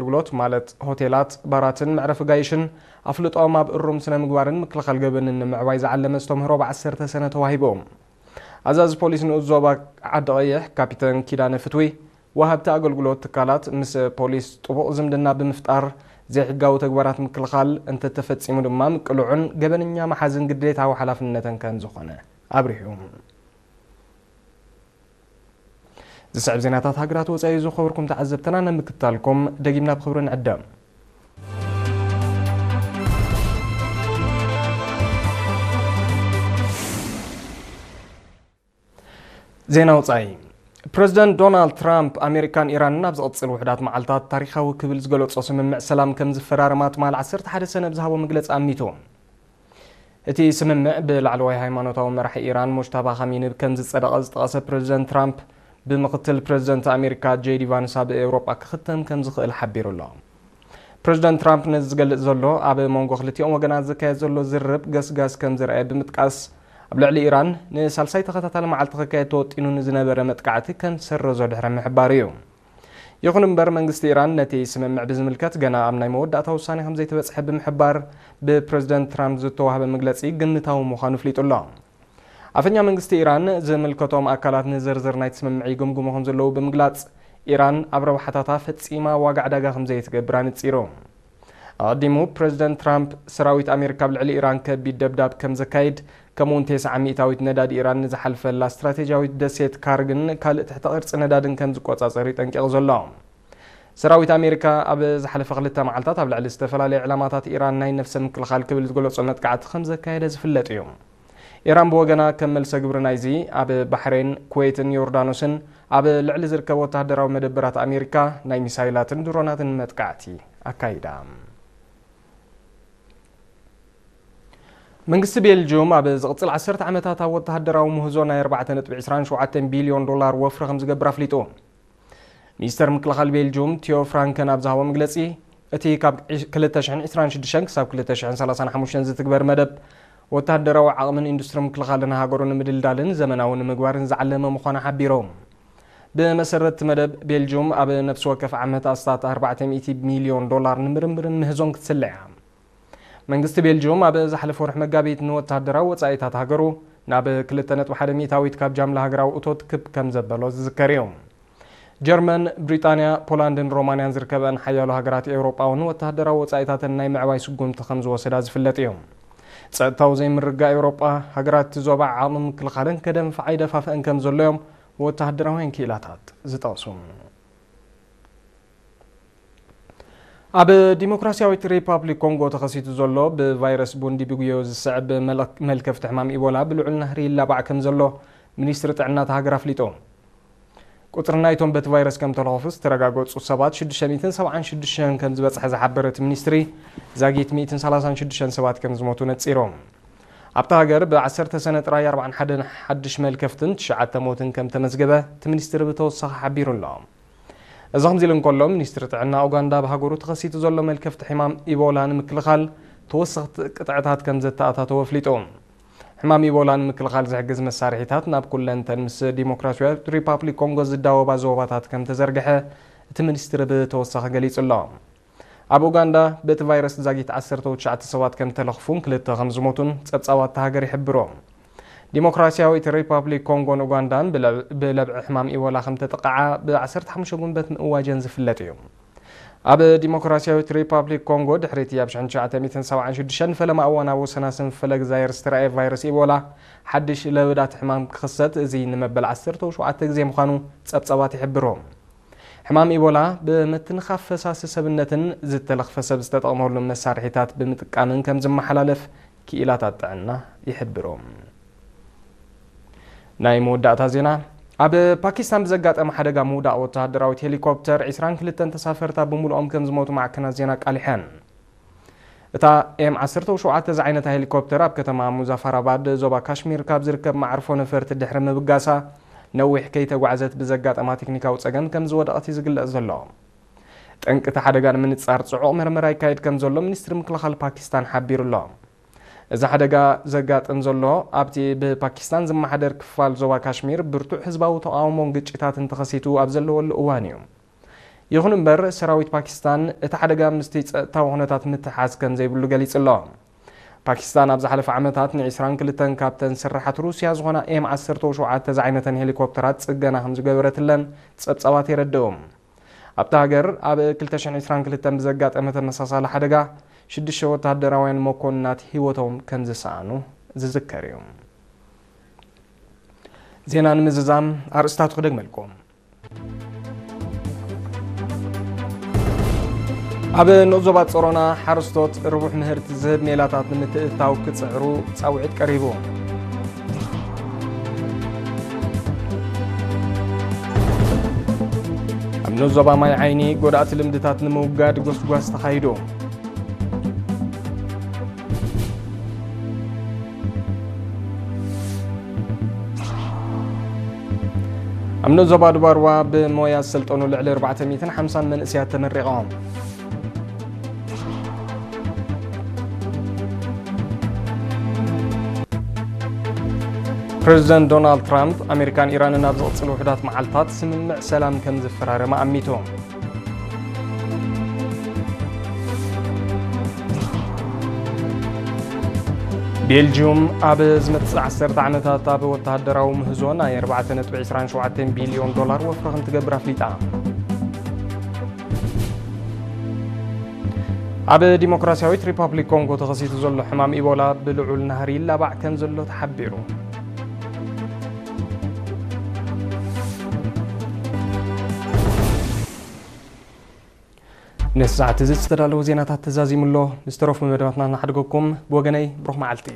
ኣገልግሎት ማለት ሆቴላት፣ ባራትን መዕረፊ ጋይሽን ኣፍልጦኦም ኣብ እሩም ስነ ምግባርን ምክልኻል ገበንን ንምዕባይ ዝዓለመ ዝተምህሮ ብ ዓሰርተ ሰነ ተዋሂቡ። ኣዛዚ ፖሊስ ንኡስ ዞባ ዓዲ ቀይሕ ካፒተን ኪዳነ ፍትዊ፣ ወሃብቲ ኣገልግሎት ትካላት ምስ ፖሊስ ጥቡቕ ዝምድና ብምፍጣር ዘይሕጋዊ ተግባራት ምክልኻል፣ እንተተፈጺሙ ድማ ምቅልዑን ገበነኛ መሓዝን ግዴታዊ ሓላፍነተን ከም ዝኾነ ኣብሪሁ። ዝስዕብ ዜናታት ሃገራት ወጻኢ ዝኸበርኩም ተዓዘብትና ንምክታልኩም ደጊምና ብኽብሪ ንዕደም። ዜና ወጻኢ። ፕረዚደንት ዶናልድ ትራምፕ ኣሜሪካን ኢራንን ኣብ ዝቕጽል ውሕዳት መዓልታት ታሪኻዊ ክብል ዝገለጾ ስምምዕ ሰላም ከም ዝፈራረማ ትማል ዓሰርተ ሓደ ሰነ ብዝሃቦ መግለጺ ኣሚቱ። እቲ ስምምዕ ብላዕለዋይ ሃይማኖታዊ መራሒ ኢራን ሙጅታባ ኻሚኒ ከም ዝጸደቐ ዝጠቐሰ ፕረዚደንት ትራምፕ፣ ብምኽትል ፕረዚደንት ኣሜሪካ ጄዲ ቫንስ ኣብ ኤውሮጳ ክኽተም ከም ዝኽእል ሓቢሩ ኣሎ። ፕረዚደንት ትራምፕ ነዚ ዝገልጽ ዘሎ፣ ኣብ መንጎ ክልቲኦም ወገናት ዝካየድ ዘሎ ዝርርብ ገስጋስ ከም ዝረኣየ ብምጥቃስ፣ ኣብ ልዕሊ ኢራን ንሳልሳይ ተኸታታሊ መዓልቲ ክካየድ ተወጢኑ ንዝነበረ መጥቃዕቲ ከም ዝሰረዞ ድሕሪ ምሕባሩ እዩ። ይኹን እምበር፣ መንግስቲ ኢራን ነቲ ስምምዕ ብዝምልከት ገና ኣብ ናይ መወዳእታ ውሳኔ ከም ዘይተበጽሐ ብምሕባር፣ ብፕረዚደንት ትራምፕ ዝተዋህበ መግለጺ ግምታዊ ምዃኑ ኣፍሊጡ ኣሎ። ኣፈኛ መንግስቲ ኢራን፣ ዝምልከቶም ኣካላት ንዝርዝር ናይቲ ስምምዕ ይግምግሙ ከም ዘለዉ ብምግላጽ፣ ኢራን ኣብ ረብሓታታ ፈጺማ ዋጋ ዕዳጋ ከም ዘይትገብር ኣነጺሩ። ኣቐዲሙ፣ ፕረዚደንት ትራምፕ፣ ሰራዊት ኣሜሪካ ኣብ ልዕሊ ኢራን ከቢድ ደብዳብ ከም ዘካይድ፣ ከምኡ'ውን ተስዓ ሚእታዊት ነዳዲ ኢራን ንዝሓልፈላ ስትራቴጂያዊት ደሴት ካርግን ካልእ ትሕተ ቅርጺ ነዳድን ከም ዝቆጻጸር እዩ ጠንቂቑ ዘሎ። ሰራዊት ኣሜሪካ ኣብ ዝሓለፈ ክልተ መዓልታት ኣብ ልዕሊ ዝተፈላለዩ ዕላማታት ኢራን ናይ ነፍሰ ምክልኻል ክብል ዝገለጾ መጥቃዕቲ ከም ዘካየደ ዝፍለጥ እዩ። ኢራን ብወገና፣ ከም መልሰ ግብሪ ናይዚ፣ ኣብ ባሕሬን፣ ኩዌትን ዮርዳኖስን ኣብ ልዕሊ ዝርከብ ወተሃደራዊ መደበራት ኣሜሪካ ናይ ሚሳይላትን ድሮናትን መጥቃዕቲ ኣካይዳ። መንግስቲ ቤልጅዩም ኣብ ዝቕጽል ዓሰርተ ዓመታት ኣብ ወተሃደራዊ ምህዞ ናይ ኣርባዕተ ነጥቢ ዕስራን ሸውዓተን ቢልዮን ዶላር ወፍሪ ከም ዝገብር ኣፍሊጡ። ሚኒስተር ምክልኻል ቤልጅዩም ቲዮ ፍራንከን ኣብ ዝሃቦ መግለጺ፣ እቲ ካብ ክልተ ሽሕን ዕስራን ሽዱሽተን ክሳብ ክልተ ሽሕን ሰላሳን ሓሙሽተን ዝትግበር መደብ፣ ወተሃደራዊ ዓቕምን ኢንዱስትሪ ምክልኻልን ሃገሩ ንምድልዳልን ዘመናዊ ንምግባርን ዝዓለመ ምዃኑ ሓቢሮም። ብመሰረት እቲ መደብ፣ ቤልጅዩም ኣብ ነፍሲ ወከፍ ዓመት ኣስታት ኣርባዕተ ሚእቲ ሚልዮን ዶላር ንምርምርን ምህዞን ክትስለ እያ። መንግስቲ ቤልጅዩም ኣብ ዝሓለፈ ወርሒ መጋቢት ንወተሃደራዊ ወጻኢታት ሃገሩ ናብ ክልተ ነጥቢ ሓደ ሚእታዊት ካብ ጃምላ ሃገራዊ እቶት ክብ ከም ዘበሎ ዝዝከር እዩ። ጀርመን፣ ብሪጣንያ፣ ፖላንድን ሮማንያን ዝርከበን ሓያሎ ሃገራት ኤውሮጳ እውን ወተሃደራዊ ወጻኢታተን ናይ ምዕባይ ስጉምቲ ከም ዝወሰዳ ዝፍለጥ እዩ። ጸጥታዊ ዘይምርግጋእ ኤውሮጳ፣ ሃገራት እቲ ዞባ ዓቕሚ ምክልኻለን ከደንፍዓ ይደፋፍአን ከም ዘሎ እዮም ወተሃደራውያን ክኢላታት ዝጠቕሱ። ኣብ ዲሞክራሲያዊት ሪፓብሊክ ኮንጎ ተኸሲቱ ዘሎ ብቫይረስ ቡንዲ ቢጉዮ ዝስዕብ መለ-፣ መልከፍቲ ሕማም ኢቦላ ብልዑል ናህሪ ይላባዕ ከም ዘሎ ሚኒስትሪ ጥዕና እታ ሃገር ኣፍሊጡ። ቁጽሪ ናይቶም በቲ ቫይረስ ከም ተለኸፉ ዝተረጋገጹ ሰባት ሽዱሽተ ሚእትን ሰብዓን ሽዱሽተን ከም ዝበጽሐ ዝሓበረ እቲ ሚኒስትሪ፣ ዛጊት ሚእትን ሰላሳን ሽዱሽተን ሰባት ከም ዝሞቱ ነጺሩ። ኣብታ ሃገር ብ ዓሰርተ ሰነ ጥራይ ኣርባዓን ሓደን ሓድሽ መልከፍትን ትሽዓተ ሞትን ከም ተመዝገበ እቲ ሚኒስትሪ ብተወሳኺ ሓቢሩ ኣሎ። እዚ ከምዚ ኢሉ እንከሎ፣ ሚኒስትሪ ጥዕና ኡጋንዳ ኣብ ሃገሩ ተኸሲቱ ዘሎ መልከፍቲ ሕማም ኢቦላ ንምክልኻል ተወሰኽቲ ቅጥዕታት ከም ዘተኣታተወ ኣፍሊጡ። ሕማም ኢቦላ ንምክልኻል ዝሕግዝ መሳርሒታት ናብ ኩለንተን ምስ ዲሞክራሲያዊት ሪፓብሊክ ኮንጎ ዝዳወባ ዞባታት ከም ተዘርግሐ እቲ ሚኒስትሪ ብተወሳኺ ገሊጹ ኣሎ። ኣብ ኡጋንዳ በቲ ቫይረስ ዛጊት ዓሰርተ ትሽዓተ ሰባት ከም ተለኽፉን ክልተ ከም ዝሞቱን ጸብጻባት እታ ሃገር ይሕብሩ። ዲሞክራሲያዊት ሪፓብሊክ ኮንጎን ኡጋንዳን ብለ-፣ ብለብዒ ሕማም ኢቦላ ከም ተጠቕዓ ብ ዓሰርተ ሓሙሽተ ጉንበት ምእዋጀን ዝፍለጥ እዩ። ኣብ ዲሞክራሲያዊት ሪፓብሊክ ኮንጎ ድሕሪ እቲ ኣብ ሽሕን ትሽዓተ ሚእትን ሰብዓን ሽዱሽተን ፈለማ እዋን ኣብ ወሰናስን ፈለግ ዛየር ዝተራእየ ቫይረስ ኢቦላ ሓድሽ ለበዳት ሕማም ክኽሰት፣ እዚ ንመበል ዓሰርተ ሸውዓተ ግዜ ምዃኑ ጸብጻባት ይሕብሩ። ሕማም ኢቦላ ብምትንኻፍ ፈሳሲ ሰብነትን ዝተለኽፈ ሰብ ዝተጠቕመሉ መሳርሒታት ብምጥቃምን ከም ዝመሓላለፍ ክኢላታት ጥዕና ይሕብሩ። ናይ መወዳእታ ዜና። ኣብ ፓኪስታን ብዘጋጠመ ሓደጋ ምውዳቕ ወተሃደራዊት ሄሊኮፕተር፣ ዕስራን ክልተን ተሳፈርታ ብምሉኦም ከም ዝሞቱ ማዕከናት ዜና ኣቃሊሐን። እታ ኤም ዓሰርተ ሸውዓተ ዝዓይነታ ሄሊኮፕተር ኣብ ከተማ ሙዛፋራባድ ዞባ ካሽሚር ካብ ዝርከብ መዓርፎ ነፈርቲ ድሕሪ ምብጋሳ፣ ነዊሕ ከይተጓዕዘት ብዘጋጠማ ቴክኒካዊ ጸገም ከም ዝወደቐት እዩ ዝግለጽ ዘሎ። ጠንቂ እቲ ሓደጋ ንምንጻር ጽዑቕ መርመራ ይካየድ ከም ዘሎ ሚኒስትሪ ምክልኻል ፓኪስታን ሓቢሩ ኣሎ። እዚ ሓደጋ ዘጋጥም ዘሎ ኣብቲ ብፓኪስታን ዝመሓደር ክፋል ዞባ ካሽሚር ብርቱዕ ህዝባዊ ተቓውሞን ግጭታትን ተኸሲቱ ኣብ ዘለወሉ እዋን እዩ። ይኹን እምበር፣ ሰራዊት ፓኪስታን እቲ ሓደጋ ምስቲ ጸጥታዊ ኩነታት ምትሓዝ ከም ዘይብሉ ገሊጹ ኣሎ። ፓኪስታን ኣብ ዝሓለፈ ዓመታት ን22 ካብተን ስርሓት ሩስያ ዝኾና ኤም ዓሰርተ ሸውዓተ ዝዓይነተን ሄሊኮፕተራት ጽገና ከም ዝገበረትለን ጸብጻባት የረድኡ። ኣብታ ሃገር ኣብ ክልተ ሽሕን ዕስራን ክልተን ብዘጋጠመ ተመሳሳሊ ሓደጋ ሽዱሽተ ወተሃደራውያን መኮንናት ህይወቶም ከም ዝሰኣኑ ዝዝከር እዩ። ዜና ንምዝዛም ኣርእስታቱ ክደግመልኩም። ኣብ ንኡስ ዞባ ጾሮና ሓረስቶት ርቡሕ ምህርቲ ዝህብ ሜላታት ንምትእትታው ክጽዕሩ ጻውዒት ቀሪቡ። ኣብ ንኡስ ዞባ ማይ ዓይኒ ጎዳእቲ ልምድታት ንምውጋድ ጎስጓስ ተኻይዱ። ኣብ ንኡስ ዞባ ዱባርዋ ብሞያ ዝሰልጠኑ ልዕሊ ኣርባዕተ ሚእትን ሓምሳን መንእሰያት ተመሪቖም። ፕሬዚደንት ዶናልድ ትራምፕ፣ ኣሜሪካን ኢራንን ኣብ ዝቕጽሉ ውሑዳት መዓልታት ስምምዕ ሰላም ከም ዝፈራረማ ኣሚቱ። ቤልጂዩም ኣብ ዝመጽእ ዓሰርተ ዓመታት ኣብ ወተሃደራዊ ምህዞ ናይ ኣርባዕተ ነጥቢ ዕስራን ሸውዓተን ቢልዮን ዶላር ወፍሪ ከም ትገብር ኣፍሊጣ። ኣብ ዲሞክራሲያዊት ሪፓብሊክ ኮንጎ ተኸሲቱ ዘሎ ሕማም ኢቦላ ብልዑል ናህሪ ይላባዕ ከም ዘሎ ተሓቢሩ። ነዚ ሰዓት እዚ ዝተዳለወ ዜናታት ተዛዚሙ ኣሎ። ምስ ተረፉ መደባትና እናሓደገኩም ብወገነይ ብሩኽ መዓልቲ።